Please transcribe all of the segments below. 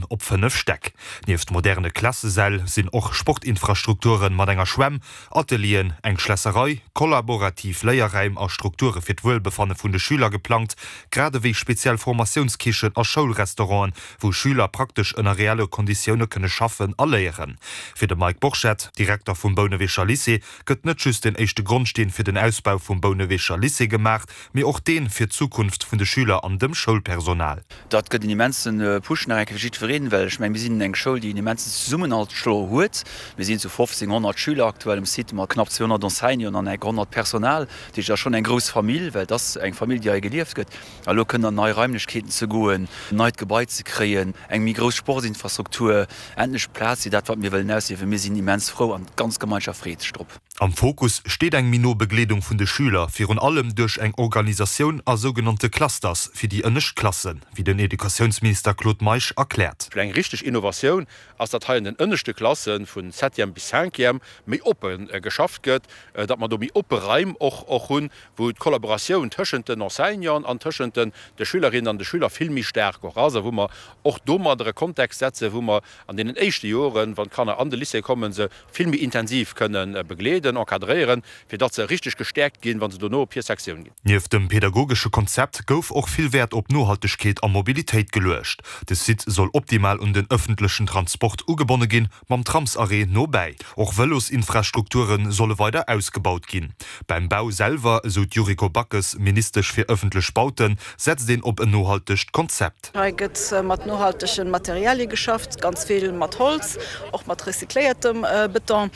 Op 5 Stäck. Nieft moderne Klassesäll sinn och Sportinfrastrukture mat enger Schwämm, Atelieren, eng Schlässerei, kollaborativ Léierräim a Strukture fir d'Wuelbefanne vun de Schüler geplangt, grad ewéi speziell Formatiounskichen a Schoulrestauranten, wou Schüler praktesch ënner reelle Konditioune kënne schaffen a léieren. Fir de Mike Borchert, Direkter vum Bouneweger Lycée, gëtt net just den éischte Grondsteen fir den Ausbau vum Bouneweger Lycée gemaach, mee och deen fir d'Zukunft vun de Schüler an dem Schoulpersonal. Dat gëtt en immense Push nach eng Kéier fir jiddwereen, well ech mengen, mir sinn eng Schoul, déi en immensen Zesummenhalt scho huet. Mir sinn zu 1.500 Schüler aktuell um Site mat knapp 200 Enseignanten an enk 100 Personal. Dat heescht, et ass schonn eng grouss Famill, well et ass eng Famill, déi hei gelieft gëtt. A elo kënnen an nei Raimlechkeeten ze goen, en neit Gebai ze kréien, eng méi grouss Sportsinfrastruktur, endlech Plaz fir dat, wat mir wëllen ausliewen. Mir sinn immens frou an d'ganz Gemeinschaft freet sech drop. Am Fokus steet eng méi no Begleedung vun de Schüler, virun allem duerch eng Organisatioun a sougenannte Clusters fir déi ënnescht Klassen, wéi den Educatiounsminister Claude Meisch erkläert. Eng richteg Innovatioun ass, datt hei an den ënneschte Klasse vun Septième bis Cinquième méi oppe geschafft gëtt, datt mer do méi oppe Raim och och hunn, wou d'Kollaboratioun tëschent den Enseignanten an tëschent den de Schülerinnen an de Schüler vill méi staark och ass a wou mer och domadder e Kontext setzen, wou mer an deenen éischte Joren, wann d'Kanner an de Lycée kommen, se vill méi intensiv kënne begleeden, encadréieren, fir datt se richteg gestäerkt ginn, wa se dono op hir Sektioun ginn. Nieft dem pedagogesche Konzept gouf och vill Wäert op Nohaltegkeet a Mobilitéit geluecht. De Site soll optimal un den ëffentlechen Transport ugebonne ginn, mam Tramsarrêt no bäi. Och Vëlosinfrastrukture solle weider ausgebaut ginn. Beim Bau selwer, esou d'Yuriko Backes, Ministesch fir ëffentlech Bauten, setzt een op en nohaltegt Konzept. Hei gëtt mat nohaltege Materialie geschafft, ganz vill mat Holz, och mat recycléiertem Beton.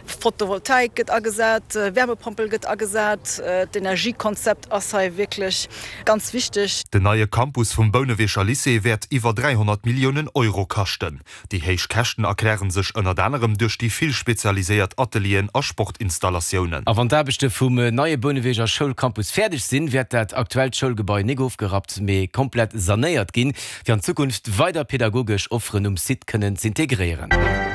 Photovoltaik gëtt agesat, Wärmepompel gëtt agesat. D'Energiekonzept ass hei wierklech ganz wichteg. Den neie Campus vum Bouneweger Lycée wäert iwwer 300 Milliounen Euro kaschten. Déi héich Käschten erkläre sech ënnert anerem duerch déi vill spezialiséiert Atelieren a Sportinstallatiounen. A wann d'Aarbechte vum neie Bouneweger Schoulcampus fäerdeg sinn, wäert dat aktuellt Schoulgebai nik ofgerappt, mee komplett sanéiert ginn, fir an Zukunft weider pedagogesch Offeren um Site kënnen z'integréieren.